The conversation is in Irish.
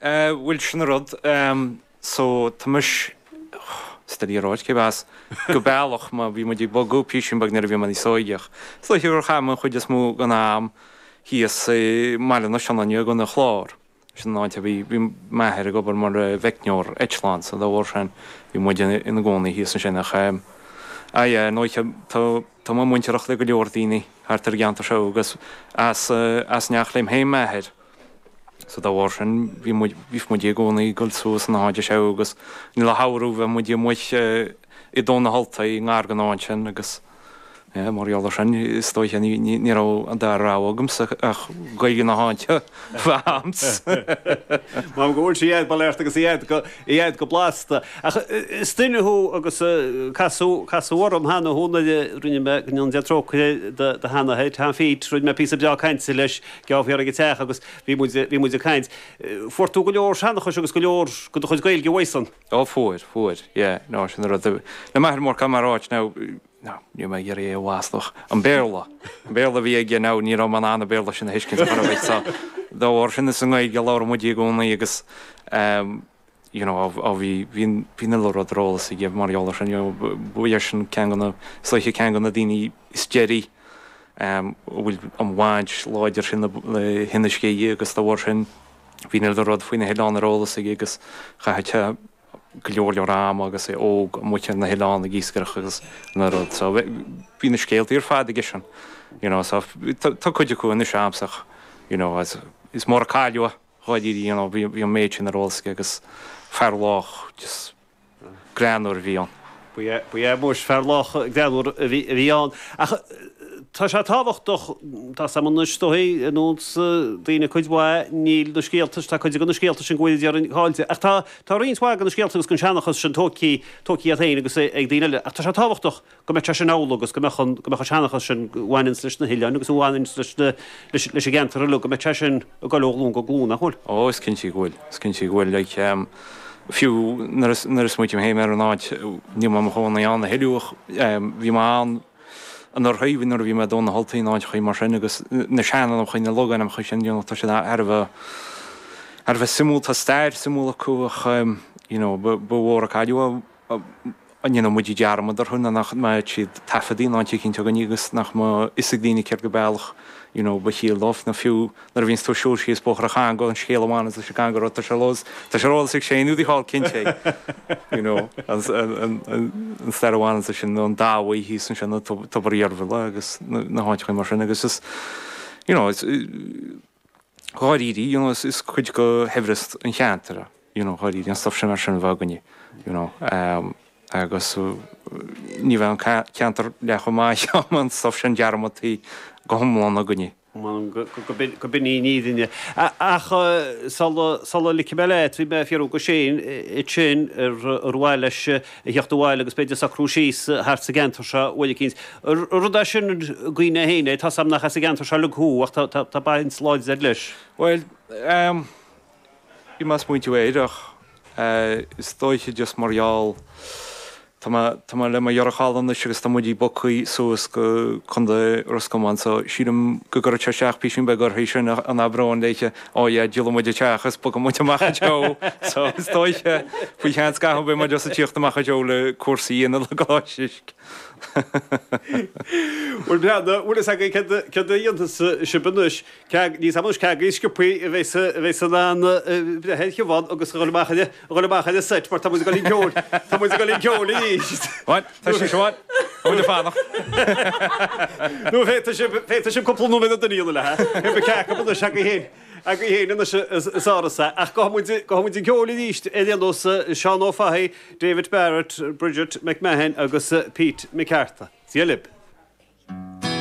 Bhuel, sin an rud. So, tá mise, is doiligh a ráit cé as, go bealach, mar bhí muid ag bogadh písín beag nuair a bhí mé níos óige ach is dóiche gur chaith mé an chuid is mó den am thíos i mBaile na Sionainne i gContae an Chláir. Sin an áit a bhí, bhí m'athair ag obair mar mheicneoir eitleán so dá bharr sin bhí muid ina gcónaí thíos ansin ach ah yeah, ar ndóigh tá, tá mé muintearach le go leor daoine thart ar an gceantar seo agus as, as neach liom féin m'athair so dá bharr sin bhí muid, bhíodh muid i gcónaí ag dul suas na háite seo agus i lár an tsamhraidh bheadh muid amuigh i dTóin na hUltaí i ngar don áit sin agus Yeah, mar gheall ar sin, is dóiche ní, ní, ní raibh an dara rogha agamsa ach Gaeilge na háite a bheith a'msa. Mar go bhfuil sí a'd, bail ort agus í a'd go, í a'd go blasta. Ach is duine thú agus casadh, casadh orm cheana thú nuair a rinne mé, go ndéana Dia trócaire do, do sheanathair, Tom Phete, rinne mé píosa breá cainte leis, geábh thiar ag an teach agus bhí muid, bhí muid ag caint. Fuair tú go leor seanchais agus go leor de do chuid Gaeilge uaidhsan. Ó fuair, fuair, yeah, no, sin an rud. Le m'athair mór, caithfidh mé a ráit now, no, níl mé ag iarraidh é a mhaslú ach an Béarla, an Béarla a bhí aige now, ní raibh mé in ann an Béarla sin a thuiscint ar chor ar bith so dá bharr sin is i nGaeilge a labhair muid i gcónaí agus ehm you know á bhí, bhí an, bhí an uile rud ar eolas aige mar gheall ar sin, you know, ba eisean ceann de na, is dóiche ceann de na daoine is deiridh ehm a bhfuil an bhaint láidir sin le hInis Gé agus dá bharr sin bhí an uile rud faoi na hoileáin ar eolas aige agus chaith sé go leor leor ama agus é óg amuigh ar na hoileáin ag iascaireacht agus an rud so bhí na scéaltaí ar fad aigesean you know so tá cuid acu anois a'msa ach you know is mór an cailleadh é dháiríre you know bhí an méid sin ar eolas aige agus fear lách just greannmhar a bhí ann. Ba ea, ba ea, muis, fear lách greannmhar a bhí, a bhí ann. Ach tá sé tábhachtach, tá 's a'm anois, is dóigh, ar nós daoine cuid mhaith, níl na scéalta, tá cuid de na scéalta sin go bhfuil déarfainn caillte. Ach tá, tá roinnt mhaith de na scéalta agus den seanchas sin tógtha, tógtha agat féin agus ag daoine eile. Ach tá sé tábhachtach go mbeadh sé sin amhlaidh agus go mbeadh an, go mbeadh an seanchas sin a bhaineanns leis na hoileáin agus a bhaineanns leis na, leis, leis an gceantar uilig, go mbeadh sé sin ag dul ó ghlúin go glúin, nach bhfuil? Ó, is cinnte go bhfuil, is cinnte go bhfuil. Like, em, fiú nuair a, nuair a smaoiním féin ar an áit, níl mé i mo chónaí ann a thuilleadh ach, em, bhí mé ann anuraidh, bhí, nuair a bhí mé i dTóin na hUltaí in áiteachaí mar sin agus na seanainmneacha, na logainmneacha sin, you know, tá siad thar a bheith, thar a bheith suimiúil, tá stair suimiúil acu ach, em, you know, ba, ba mhór an cailleadh é. An ndéanfaidh muid dearmad orthu nó nach mbeidh siad taifeadta in áit eicínt againne agus nach mbeidh fhios ag daoine céard go bealach you know ba chiall dóibh nó fiú nuair a bhíonns tú ag siúl síos Bóthar an Chonga an scéal a bhaineanns leis an gConga Road tá sé ar eolas tá sé ar eolas ag Shane údaí thall cinnte you know an an an stair a bhaineanns leis sin nó an Dabhaigh thíos ansin nó Tobar Dheirbhile agus na háiteacha mar sin agus is you know is dháiríre, you know, is cuid de shaibhreas an cheantair é, you know, dháiríre, an stuff sin mar sin a bheith againne, you know, agus ní bheadh an ceantar leath chomh maith dá mbeadh an stuff sin dearmadtaí go hiomlán againne. Go binn í an fhírinne. Ach sula ligfidh mé leat, bhí mé ag fiafraí de Shane ansin ar mhaith leis a theacht abhaile agus b'fhéidir socrú síos thart sa gceantar seo uair eicínt. An rud é sin cuimhne féin é, tá's a'm nach as an gceantar seo uilig thú ach tá baint láidir agat leis. Bhuel, ehm, bhí mé ag smaointiú air ach eh, is dóiche just mar gheall, tá mé, tá mé le mo dheartháir anois agus tá muid bogtha suas go Contae Ros Comáin so sílim go gcuirfeadh sé isteach písín beag uirthi sin an abróinn léithe, oh yeah, díolfaidh muid an teach is bogfaidh muid amach anseo so is dóiche faoi cheann scaithimh beidh muid just ag tíocht amach anseo le cúrsaí a dhéanamh le Coláiste Uisce. Bhuel, breathnaigh, bhfuil fhios agaibh céard a dhéanfas sibh anois? Níl fhios a'm anois cé agaibh is sciobthaí a bheas a bheas in ann breith ar Shiobhán agus a dhul amach ar a dhul amach ar an seit mar tá muid ag dul chun ceoil, tá muid ag dul chun ceoil arís. Bhuel, tá sí Siobhán, tá muid ag fanacht. Nó féadfaidh sibh, féadfaidh sibh cúpla nóiméad a dhéanamh léi. Cé acu anois agaibh féin, agaibh féin anois is árasa. Ach gabhfaidh muid, gabhfaidh muid chun ceoil arís ar aon nós, Seán Ó Fathaigh, David Barrett, Bridget McMahon agus Pete McCartha. Dia libh.